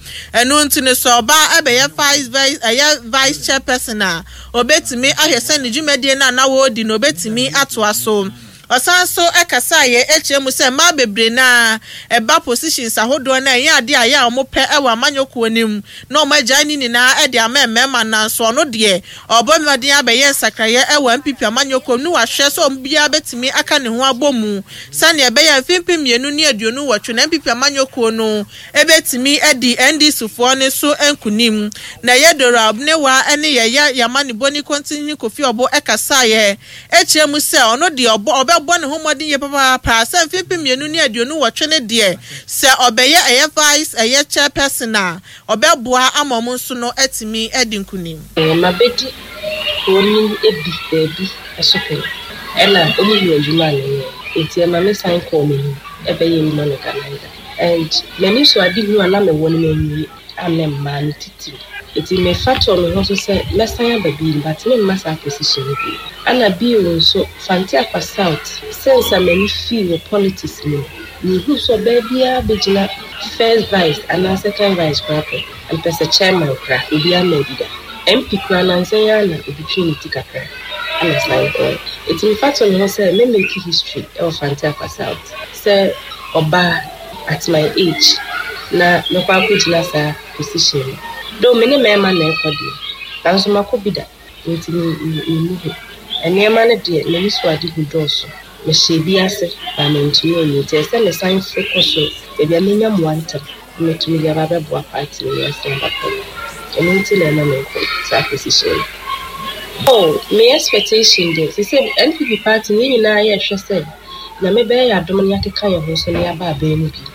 Ɛno nti no sɛ ɔba bɛyɛ vice vice ɛyɛ vice chairperson a, ɔbɛtumi ahwɛ sɛ ne dwumadie no a na wɔredi no ɔbɛtumi atoa so. Ɔsan nso kasaeɛ kyerɛ mu sɛ mmaa bebree no ara ɛba positions ahodoɔ no a ɛnyɛ adeɛ a ɛyɛ a wɔpɛ wɔ amanyɔ kuo no mu na wɔagyae ne nyinaa de ama mmarima nanso ɔno deɛ ɔrebɔ mmɔden abɛyɛ nsakraeɛ wɔ NPP amanyɔ kuo mu ne wahwɛ sɛ obiara bɛtumi aka ne ho abɔ mu sɛdeɛ ɛbɛyɛ a mfe 2028 no NPP amanyɔ kuo no bɛtumi adi NDC foɔ no so nkunim. Na ɛyɛ Dora Obnewa ne Yɛyɛ Yamaniboni Kontinhini Kofi Ɔbo kasaeɛ Ɛkyerɛ mu sɛ ɔno deɛ ɔbɔ ɔbɛbɔ ne ho mmɔden yie papaapa sɛ mfe 2028 no deɛ sɛ ɔbɛyɛ ɛyɛ vice ɛyɛ chairperson a ɔbɛboa ama ɔmo nso no atumi adi nkunim. Mabɛdi kuro no bi baabi so pɛn, ɛna ɔmo huu adwuma a meyɛɛ nti ɛma me san kɔɔ m'anim bɛyɛɛ woman organizer and m'ani so adehunu a na mewɔ no manwie. a mmaa no titiriw. Ntsi mefa too me ho so sɛ mɛsan aba bio but meremma saa position no bio. Ana bio nso Fante Akwa South since a m'ani fii wɔ politics mu no, minhuu sɛ ɔbaa biara bɛgyina first vice anaa second vice koraa pɛ. Mepɛ sɛ chairman koraa, obiara mmaa bi da. MP koraa nansa yi ara na obi twee ne ti kakra na ɔsan kɔɔe. Ntsi mefa too me ho sɛ mɛ make history wɔ Fante Akwa South sɛ ɔbaa. at my age na mɛkɔ akɔgyina saa position no. Though me ne mmarima na ɛkɔ deɛ, nanso makɔ bi da nti me me menni ho. Nneɛma no deɛ m'ani so ade hu dɔɔso. Mehyɛɛ bi ase but mantumi anwie nti ɛsɛ sɛ mesan foro kɔ soro baabi a mɛnya mmoa ntɛm na matumi de aba abɛboa party no na yɛasan aba fam. Ɛno nti na ɛma menkɔ saa position no. Oh, me expectation deɛ, seesei NPP party no yɛn nyinaa yɛrehwɛ sɛ Nyame bɛyɛ yɛn adom na yɛakeka yɛn ho nso na yɛaba abɛn mu bio.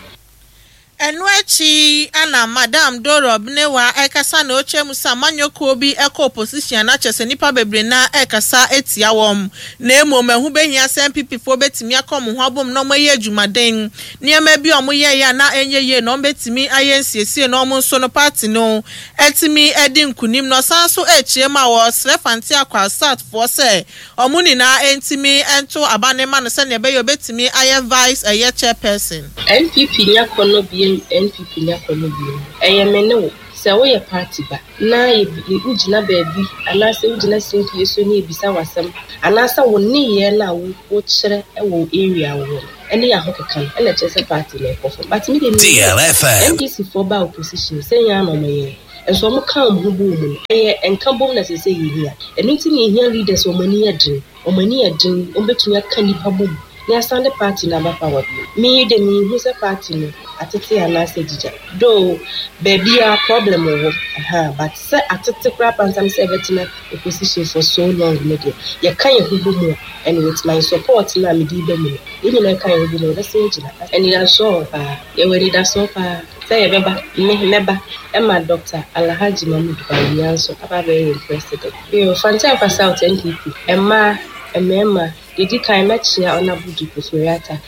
Ɛno akyi na Madam Dora Obenewa rekasa na ɔkyerɛ mu sɛ amanyɔkuo bi kɔ opposition a na kyerɛ sɛ nnipa bebree no ara rekasa tia wɔn na mmom ɛho bɛhia sɛ NPP foɔ bɛtumi aka wɔn ho abom na wɔayɛ adwumaden. Nneɛma bi a wɔyɛeɛ a na ɛnyɛ yie no wɔbɛtumi ayɛ nsiesie na wɔn nso no party no atumi adi nkunim. Na ɔsan nso rekyerɛ mu a ɔresrɛ Fante Akwaa South foɔ sɛ Wɔn nyinaa ntumi nto aba no mma no sɛnea ɛbɛyɛ a obetumi ayɛ vice ɛyɛ chairperson. NPP nya kɔnɔ biem NPP nya kɔnɔ biem Ɛyɛ me ne wo Sɛ woyɛ party ba na yɛ wogyina baabi anaasɛ wogyina simpie so na yɛbisa wo asɛm anaasɛ wo nneyɛɛ no a wo wokyerɛ wɔ wo area a wowɔ no ɛne yɛ ahokeka no ɛna ɛkyerɛ sɛ party no ɛkɔ fam but me deɛ menim sɛ NDC foɔ baa opposition sɛ yɛn ara na wɔyɛɛ Nso wɔn ka wɔn ho bɔɔ mu no, ɛyɛ nkabom na ɛsɛ sɛ yɛhia. Ɛno nti na yɛhia leaders a wɔn ani yɛ den, wɔn ani yɛ den, wɔbɛtumi aka nnipa bom na yɛasan de party no aba power bio. Me de menhu sɛ party no atete anaasɛ agyigya. Though baabiara problem wɔ hɔ, ahaa, but sɛ atete koraa apansam sɛ ɛbɛtena opposition for so long no deɛ, yɛka yɛn ho bɔ mu a, and with my support no a mede reba mu no, yɛn nyinaa ka yɛn ho bɔ mu a, yɛbɛsan agyina. Anidasoɔ wɔ hɔ paa, yɛwɔ anidasoɔ paa. Sɛ yɛbɛba, me mɛba ma Dɔkta Alhaji Mahmood Bawumia nso aba abɛyɛ yɛn president. Bio, Fante Akwa South NPP, mmaa, mmarima, deɛ ɛdi kan mɛkyea Honourable Duke Ofori-Atta.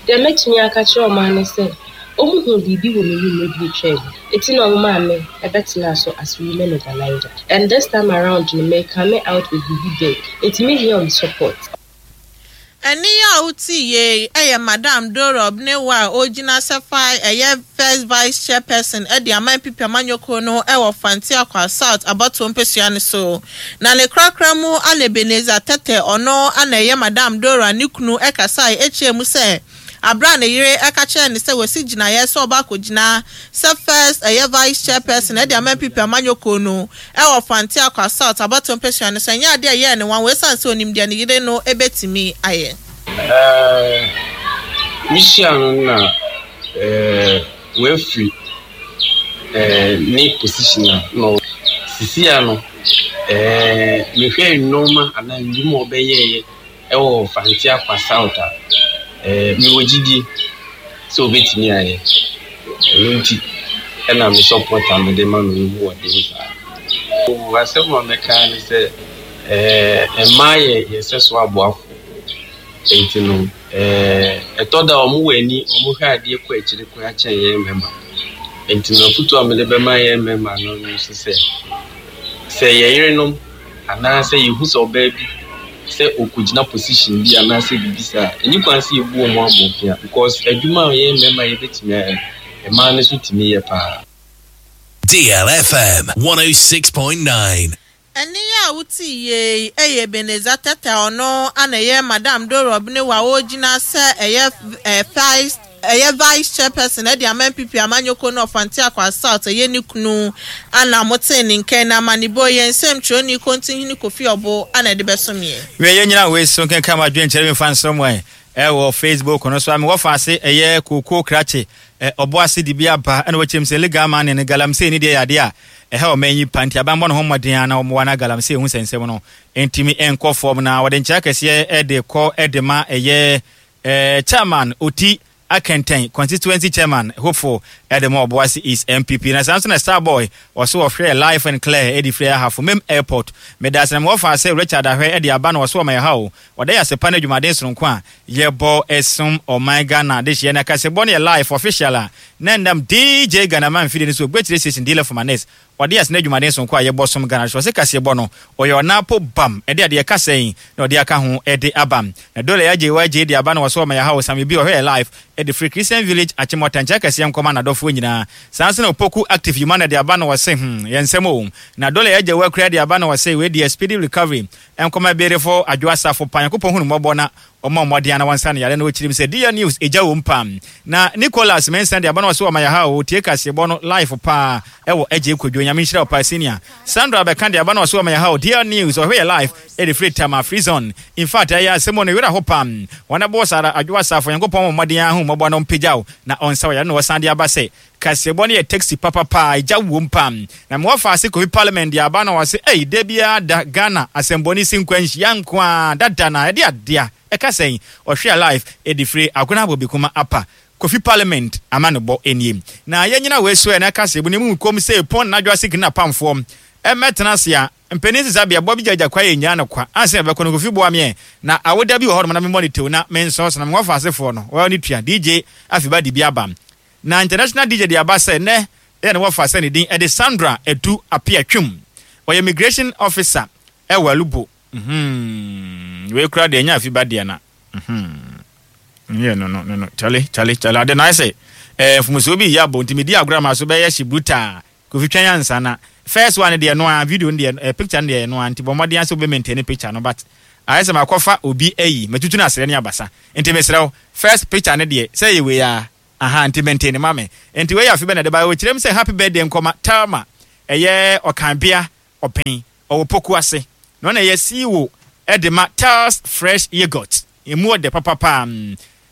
Deɛ mɛtumi aka akyerɛ wɔn ara ne sɛ, wɔhuu biribi wɔ me mu mmerɛ bi atwam, enti na wɔmaa me bɛtenaa so as women organiser. And this time around no, me come out with biribi big, enti mehia wɔn support. Ɛnne yi a wote yei yɛ Madam Dora Obnewa a ɔgyina sɛ fae ɛyɛ First Vice Chairperson de ama NPP amanyɔkuo no wɔ Fanti Akwa South abatoɔ mpesua no so. Na ne korakora mu ana Ebenezer Tetteh ɔno na ɛyɛ Madam Dora ne kunu kasae kyerɛɛ mu sɛ Bere a ne yere ka kyerɛɛ no sɛ wasi gyinaeɛ sɛ ɔba akɔgyina sɛ First ɛyɛ Vice Chairperson de ama NPP amanyɔ kuo no wɔ Fante Akwa South abatoɔ mpasua no so, ɛnyɛ adeɛ a ɛyɛɛ no nwanwa ɛsiane sɛ ɔnim deɛ ne yere no bɛtumi ayɛ. Ɛɛ, mehyia no na ɛɛ wafiri ɛɛ ne position a na ɔwɔ. Sisi a no ɛɛ mehwɛ nneɛma anaa nnwuma a ɔbɛyɛeɛ Ɛwɔ Fante Akwa South a, mewɔ gyidie sɛ ɔbɛtumi ayɛ. Ɛno nti na me support a mede ma no no mu wɔ den saa. Oh, asɛm a mɛka ara ne sɛ, mmaa yɛ yɛn sɛso aboafoɔ. Nti no, ɛtɔ da a wɔwɔ ani, wɔhwɛ adeɛ kɔ akyire koraa kyɛn yɛn mmarima. Nti no, afotuo a mede bɛma yɛn mmarima no nso sɛ, sɛ yɛn yerenom anaasɛ yɛhu sɛ ɔbaa bi sɛ ɔkɔgyina position bi anaasɛ biribi saa a, ɛnni kwan sɛ yɛbu wɔn abɔnfea because adwuma a yɛn mmarima yɛbɛtumi ayɛ no, mmaa no nso tumi yɛ paa. DLFM 106.9. Ɛnne yi a wote yie yi yɛ Ebenezer Tetteh a ɔno na ɛyɛ Madam Dora Obenewa a ɔregyina sɛ ɛyɛ Vice ɛyɛ Vice Chairperson de ama NPP amanyɔkuo no Ɔfante Akwa South ɛyɛ ne kunu ana motee ne nka na amanebɔ yi yɛn nsɛmtwerɛni Kontinhene Kofi Ɔbo ana ɛde bɛsom yɛn. Wei yɛn nyina wei so nkenka ma adwenkyerɛ bi mfa nsrɛ mo ɛ ɛwɔ Facebook no so a mewɔ fa ase ɛyɛ kookoo krakye ɛ ɔbo ase de bi aba ɛna wɔkyerɛ mu sɛ legal money no galamsey ne deɛ yɛ adeɛ a ɛha ɔman yi pa nti aban bɔ ne ho mmɔden a na wɔmmoa na galamsey ho nsɛnsɛm no ntumi nkɔ fam na wɔde nkyerɛ akɛseɛ ɛde kɔ ɛde ma ɛyɛ Eh, Chairman Oti Akɛntɛn, Constituency Chairman hopeful de ma Obuasi East NPP. Na saa nso na Starboy, ɔso ɔhwɛɛ Live and Clear de firi Ahafo Mem Airport. Meda ase na mewɔ faa sɛ Richard Ahwɛ de aba na ɔso ɔma yɛha o. Ɔda yɛ ase pa ne adwumaden sononko a yɛbɔ som ɔman Ghana dehyeɛ. Na kasebɔ no yɛ live official a na ɛnam DJ Ghanaman mfidie no so, Ogbekyire Station Dealer for Manes. Ɔde asene adwumaden sononko a yɛbɔ som Ghana so. Ɔse kaseɛbɔ no, ɔyɛ ɔnaapo bam ɛde adeɛ kasa yi na ɔde aka ho de aba. Na Dole Agyei Wagyei de aba na ɔso ɔma yɛha o Sammy B ɔhwɛ yɛ live de firi Christian Village Achimota nkyɛ kɛseɛ nkɔma nadɔfoɔ nyinaa. Saa nso na Opoku Active Yumana de aba na ɔse hmm yɛ nsɛm o. Na Dole Agyei Wakura de aba na ɔse wei deɛ speedy recovery nkɔma Berefo Adwo Asafo pa Nyankopɔn hu no mmɔbɔ na Ɔmmɔ mmɔden ana wɔnsa no yare na ɔkyirim sɛ DL news egya wom paa. Na Nicholas Mensah de aba na ɔse ɔma yɛha o tie kaseɛbɔ no live paa ɛwɔ Adjei Kwadwo Nyame nhyira wo paa senior. Sandra bɛka de aba na ɔse ɔma yɛha o DL news ɔhwɛ yɛ live ɛde firi Tama free zone infact ɛyɛ asɛm o ne werɛ aho paa. Wɔn ɛbɔ saa ara Adwo Asafo Nyankopɔn mmɔ mmɔden ara hu mmɔbɔ na ɔmpagya wo na ɔnsa wo yare na ɔsan de aba sɛ Kaseɛbɔ no yɛ taxi papapa egya wom paa. Na me wɔfa ase Kofi parliament de aba na wɔse ei da biara da Ghana asɛmbɔne si nkwa nhyia nko ara dada na ɛde adea ɛka sɛn ɔhwe alive ɛde firi Agona Bobikuma apa. Kofi Parliament amanebɔ nie. Na yɛnyina wei so ɛ na ɛka sɛ bu ne mu kom sɛ pɔn na adwoa sikini apamfoɔ mmɛtena ase a mpanin sesa bea boa bi gyagya kwa yɛ nyaa no kwa ansa yɛbɛkɔ no Kofi boa meɛ na awoda bi wɔ hɔnom na memmɔ ne tew na mensɔɔ so na mewɔ asefoɔ no wɔn ne tua DJ Afiba de bi aba na International DJ de aba sɛ nɛ ɛyɛ ne wɔfa sɛ ne din ɛde Sandra Adu Apia Twum ɔyɛ immigration officer ɛwɔ Alubo mm wei kura deɛ ɛnyɛ Afiba deɛ na mm yɛ no no no no chale chale chale ade na ayɛ sɛ ɛɛ mfomsoɔ bi yɛ abɔ nti medi agorɔ ama so bɛyɛ hye brutal Kofi twɛn ansa na first one deɛ ɛno ara video no deɛ eh, picture no deɛ ɛno ara nti bɔ mmɔden ara sɛ wobɛ maintain picture no but ayɛ sɛ makɔfa obi ayi matutu no asrɛ ne abasa nti mesrɛ wo first picture no deɛ sɛ ɛyɛ wei ara aha nti maintain ma me nti wei yɛ afe bɛ na ɛde ba ɔkyerɛ mu sɛ happy birthday nkɔma Thelma ɛyɛ ɔkanbea ɔpɛn ɔwɔ poku ase na ɔna ɛyɛ CEO ɛde ma Thel's Fresh Yogurt emu ɔdɛ papapa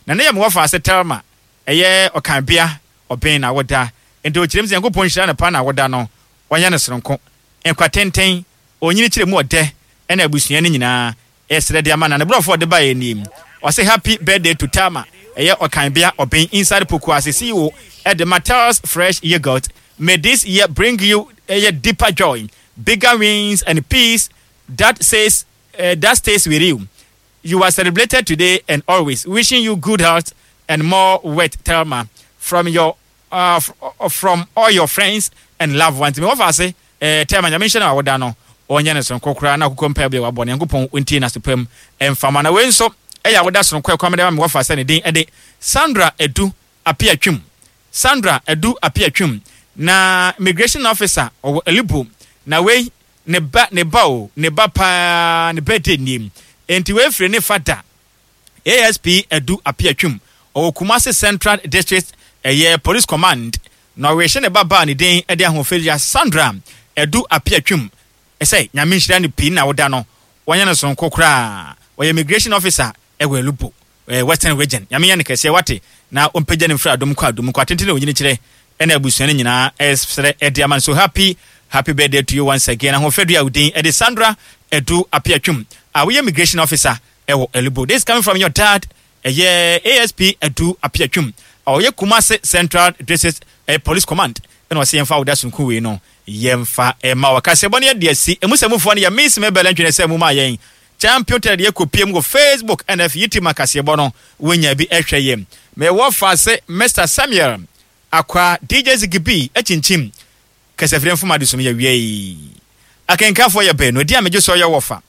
na ne yɛ mewɔ fa ase Thelma ɛyɛ ɔkanbea ɔben na woda. Enti ɔkyerɛ mu sɛ Nyankopɔn nhyira no paa na woda no, ɔnyɛ no soronko. Nkwa tenten, onyini kyerɛ mu ɔdɛ ɛna abusua no nyinaa ɛsrɛ de ama no. Na ne brɔfo a ɔde baeɛ nie, ɔse Happy birthday to Thelma, ɛyɛ ɔkan bea ɔben inside Pokuase CEO ɛde ma Thel's Fresh Yogurt, may this year bring you ɛyɛ deeper joy, bigger wins and peace that says that stays with you. You are celebrated today and always. Wishing you good health and more wealth, Thelma, from your uh, from all your friends and loved ones. Me wɔfa ase eh, Thelma nyame nhyɛ no awoda no ɔnyɛ no soronko koraa na akokɔ mpae bi a wabɔ no Nyankopɔn ntie no asopam mfama na wei nso ɛyɛ awoda soronko ɛkwan mede ma me wɔfa sɛ ne din ɛde Sandra Edu Apia Twum Sandra Edu Apia Twum na immigration officer ɔwɔ Elibu na wei Ne ba, ne ba o, ne ba paa, ne birthday nie. Enti wei firi ne fa da. ASP Adu Appiah Twum, ɔwɔ Kumasi Central District ɛyɛ Police Command, na ɔrehyɛ ne ba baa ne din de Ahoɔfɛdua Sandra Adu Appiah Twum sɛ Nyame nhyira no pii na woda no wanyɛ no sononko koraa. Ɔyɛ Immigration Officer wɔ Alubo. Eh, Western Region. Nyame nyɛ no kɛseɛ wate, na ɔmpagya no mfiri adom nkɔ adom nkɔ atenten a onyini kyerɛ ɛna abusua no nyinaa ɛsrɛ ɛde ama no. So happy, happy birthday to you once again. Ahoɔfɛdua a wo din ɛde Sandra Adu Apiatwum a woyɛ immigration officer ɛwɔ Elubo. This is coming from your dad ɛyɛ ASP Adu Apiatwum a ɔyɛ Kumasi Central District eh, Police Command ɛna ɔsɛ yɛmfa wo da sononko wei no yɛmfa ɛma wɔ kaseɛbɔ no yɛde asi emu sɛ mufoɔ no yɛ Miss Mabel Antwene sɛ mu maa yɛn Champion Tɛlɛ deɛ kɔpiem wɔ Facebook ɛna afei YouTube ma kaseɛbɔ no wonya bi ɛhwɛ yɛ. Me wɔ fa se Mister Samuel Akwa DJ Ziggy B akyinkyim kasafire mfom adesum yɛ wiei. Akenkanfoɔ yɛ baanu ɛdeɛ a megye so yɛ wɔ fa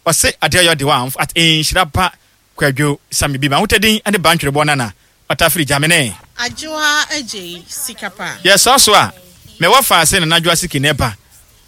ɔse adeɛ ɔyɛ ɔde wa at nhyira pa Kwadwo Sammy bi m'ahotadin ne Bantwerebɔ Nana Ɔtafiri Gyamene. Adwoa Agyei sika pa. Yɛ saa so a, me wɔ fa se Nana Adwoa Siki na ɛba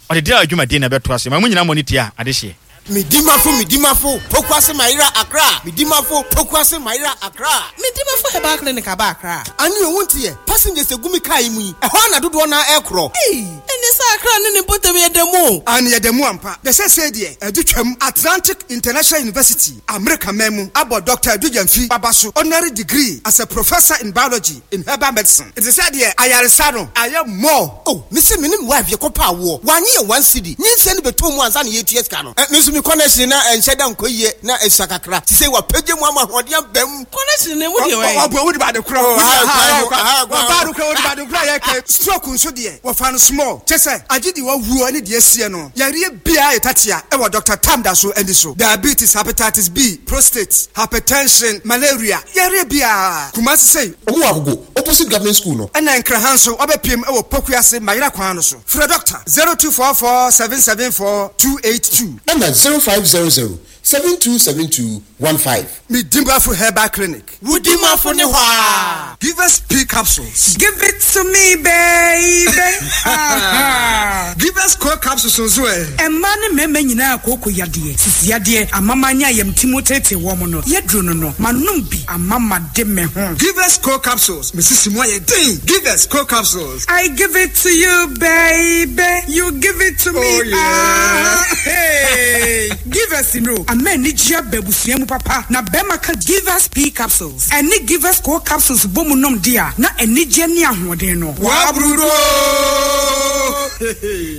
Ɔde deal adwumadie na ɛbɛtoa so. Ma mo nyinaa mmɔ ne ti a adehyeɛ. Medimafo Medimafo Pokuase Mayera Accra Medimafo Pokuase Mayera Accra. Medimafo Herbal Clinic aba Accra. Ane o wonte yɛ passengers egu me car yi mu yi ɛhɔ ara na dodoɔ no ara ɛrekorɔ. Ei ɛne sɛ Accra ne ne mpɔtam yɛ da mu o. Aane yɛda mu ampa. Na seesei deɛ adu twam. Atlantic International University, Amerika man mu, abɔ Dɔkta Adu Gyamfi aba so honorary degree as a Professor in Biology in Herbal Medicine. Nti sɛ deɛ ayaresa no ayɛ more. Oh me se me ne me wife yɛkɔ pɛ awoɔ wanye yɛn one cedi nyinsɛn no bɛtɔ mu ansa na yɛtua sika no eh me nso me connection na ɛnhyɛ da nkɔ yie na ɛsua kakra sisei wapagya mu ama ahoɔden aba mu. Connection no emu deɛ wɛn. Ɔboa wode ba ade korɔ Oh aha kwan ho aha kwan ho. Ɔbaa no kora wode ba ade korɔ a yɛka stroke nso deɛ wɔfa no small kyɛ sɛ agye deɛ wawuo ne deɛ asie no yareɛ biara yɛ tatea ɛwɔ Doctor Tam da so ani so diabetes hepatitis B prostate hypertension malaria yareɛ biara Kumasi sei. Ɔmo wɔ Agogo opposite government school no. Ɛna Nkraha nso wabɛpiem wɔ Pokuase Mayera kwan no so. Frɛ Dɔkta 0244 774 282. Ɛna 0500 7272 15. Me Dimafo Herbal Clinic. Wo Dimafo ne hɔ aa. Give us P capsules. Give it to me baby ah. Give us Co capsules nso ɛ. Mmaa ne mmarima nyinaa kooko yadeɛ, sisi yadeɛ, amama ne ayamti mu teetee wɔn no, yɛduro no no, manom bi ama made me ho. Give us Co capsules, me sisi mu ayɛ den. Give us Co capsules. I give it to you baby, you give it to me Oh yeah. ah, hey. Give. Givers nnuro ama anigyeɛ aba abusua mu papa na bɛrima ka Givers P capsules ɛne Givers Co capsules bɔ mu nom de a na anigyeɛ ne ahoɔden no. W'abrudo oo!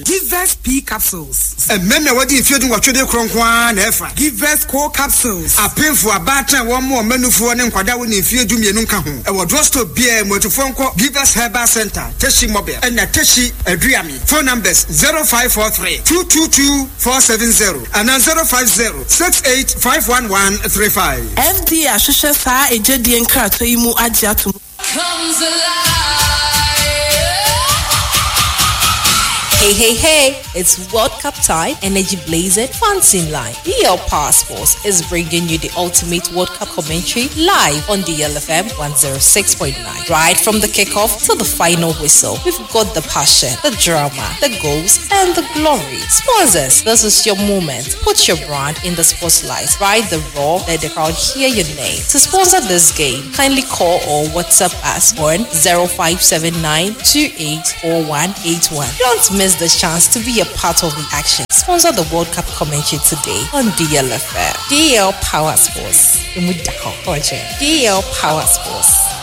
Givers P capsules. Mmarima a wɔadi mfeɛ dunwɔtwe de korɔ nko ara na ɛfa. Givers Co capsules. Apemfo, abaatan a wɔmmoa wɔn mma nufoɔ ne nkwadaa a wɔnni mfeɛ dumienu nka ho. Ɛwɔ drugstore biara mu. Atufoɔ nkɔ Givers Herbal Centre, Teshie Mobile ɛna Teshie Aduami. Phone numbers, 0543 222 470 anaa 050 68 51135. FDA ahwehwɛ saa egyedie nkratoɔ yi mu agye ato mu. Comes alive. Hey, hey, hey, it's World Cup time, energy blazing, fans in line. DL Passports is bringing you the ultimate World Cup commentary live on DLFM 106.9. Right from the kickoff to the final whistle, we've got the passion, the drama, the goals, and the glory. Sponsors, this is your moment. Put your brand in the spotlight. Ride the roar, let the crowd hear your name. To sponsor this game, kindly call or WhatsApp us on 0579 284181. Don't miss the chance to be a part of the action. Sponsor the World Cup commentary today on DLFM. DL Power Sports. DL Power Sports.